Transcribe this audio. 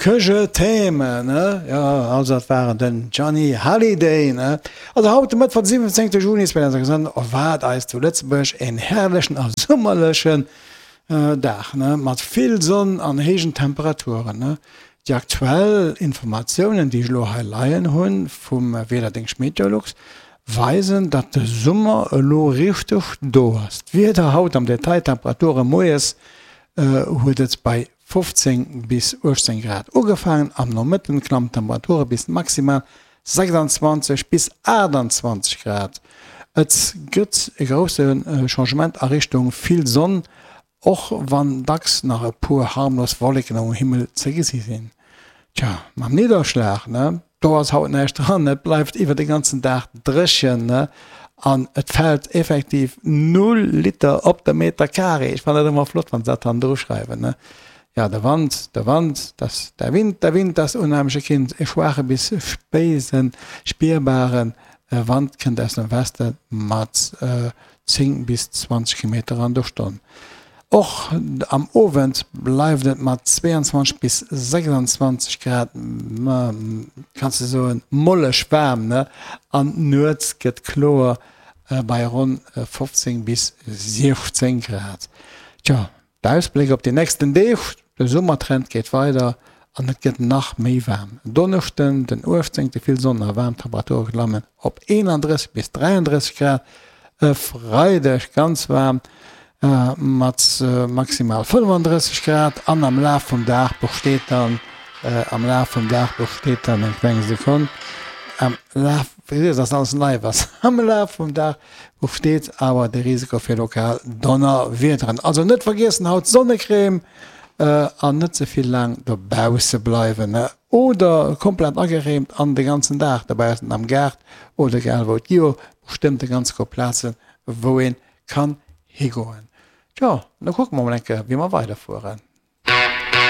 Que je t'aime, ne? Jo, also dat war den Johnny Hallyday, ne? Also haut de Mëttwoch, de 17. Juni 2026, erwaart eis zu Lëtzebuerg een herrlechen a summerlechen Dag, ne? Mat vill Sonn an héijen Temperaturen, ne? Déi aktuell Informatiounen, déi ech elo hei leien hunn vum Wiederdéngscht Meteolux, weisen, datt de Summer elo richteg do ass. D'Wieder haut am Detail, Temperature moies huet et bei 15 bis 18 Grad ugefaangen, am Nomëtten klammen d'Temperature bis maximal 26 bis 28 Grad. Et gëtt e grousse Changement a Richtung vill Sonn, och wann dacks nach e puer harmlos Wolleken um Himmel ze gesi sinn. Tja, mam Nidderschlag, ne? Do ass haut näischt dran, et bleift iwwer de ganzen Dag dréchen, ne? An et fält effektiv null Liter op de Meter Carré. Ech fannen dat ëmmer flott, wann se dat hannendru schreiwen, ne? Ja, de Wand, de Wand, das, der Wind, der Wind, das unheimliche Kind, e schwaache bis spéisen, spierbare Wand kënnt aus dem Weste mat 10 bis 20 Kilometer an der Stonn. Och am Owend bleift et mat 22 bis 26 Grad, kanns de soen, molleg waarm, ne? An nuets gëtt kloer bei ronn 15 bis 16 Grad. Tjo, D'Ausbléck op déi nächsten Deeg, De Summertrend geet weider an et gëtt nach méi waarm. En Donneschden, den 18. Vill Sonn a waarm Temperature klammen op 31 bis 33 Grad. E Freideg ganz waarm mat maximal 35 Grad an am Laf vum Dag besteet dann am Laf vum Dag besteet dann eng kleng Sekonn am Laf, wéi gesot, ass alles live ass am Laf vum Dag Besteet awer de Risiko fir lokal Donnerwiederen. Also net vergiessen haut Sonnecrème an net ze vill laang dobausse bleiwen oder komplett agereemt an de ganzen Dag dobaussen am Gaart oder egal wou. Et gi jo bestëmmt e ganze Koup Plazen wou een kann higoen. Tjo, da kucke mer mol eng Kéier wéi mer weiderfueren.